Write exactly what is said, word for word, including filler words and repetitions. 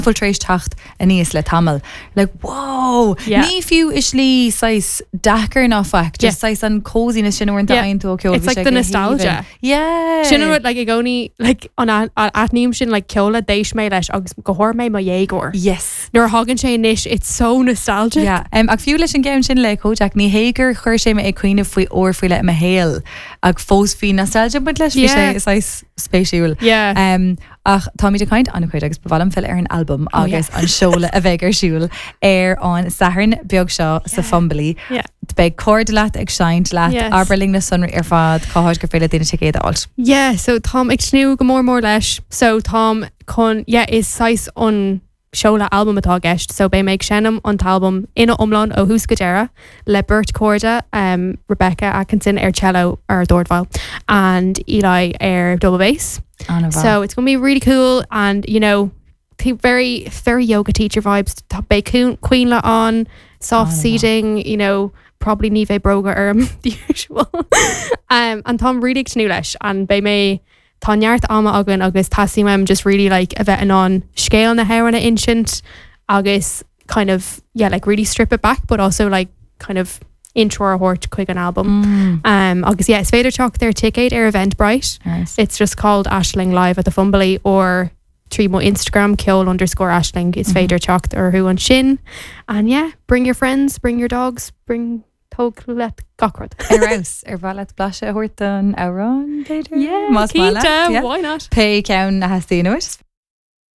Bhfuil tar éis teacht aníos le tamall. Like, wow! Yeah. Ní fiú i slí saghas deacair ná faic, just Yeah. saghas an coziness sin uaireanta Yeah. a fhaigheann tú ó ceol. It's like the nostalgia. Yeah. Sin an rud like i gcónaí like an aithním sin like ceol a d'éist mé leis agus go háirithe mé mo dhéagóir. Yes. Nuair a thagann sé anois it's so nostalgic. Yeah. Um, ach fiú leis an gceann sin le Kojaque ní hé gur chuir sé mé ag cuimhneamh faoi uair faoi leith i mo shaol ach fós bhí nostalgia baint leis bhí Yeah. sé saghas spéisiúil. Yeah. Um, ach táimid ag caint an-chuid agus ba mhaith liom filleadh ar an album Oh, agus an seoladh a bheidh ar siúl ar an Satharn beag seo sa Fumbally. Yeah. Beidh cairde leat ag seinnt leat Yes. abair linn na sonraí ar fad cá háit gur féidir le daoine ticéad a fháil. Yeah, so táim ag tnúth go mór mór leis. So táim chun yeah, is saghas an seoladh album atá i gceist, so beidh mé ag seinm an t-album ina iomlán ó thús go deireadh le beirt chairde um, Rebecca Atkinson ar cello ar dordveidhil and Eli ar double bass. An-mhaith. So it's gonna be really cool and you know t- very very yoga teacher vibes. Tá beidh coinnle on soft An-mhaith. seating, you know, probably ní bheidh bróga orm the usual. um, and táim really ag tnúth leis and beidh mé tá neart ama againn agus teastaíonn uaim just really like a bheith in ann scéal na hamhrán a insint agus kind of yeah like really strip it back but also like kind of intro a thabhairt chuig an album. Mm. Um, agus yeah, is féidir teacht ar ticéid ar Eventbrite. Nice. It's just called Ashling Live at the Fumbally or trí mo Instagram ceol underscore Ashling is féidir teacht orthu ansin. And yeah, bring your friends, bring your dogs, bring tóg leat gach rud. Ar fheabhas ar mhaith leat blaiseadh a thabhairt don amhrán b'fhéidir? Yeah, Más maith leat, cinnte, yeah. why not? Pé ceann a theastaíonn uait.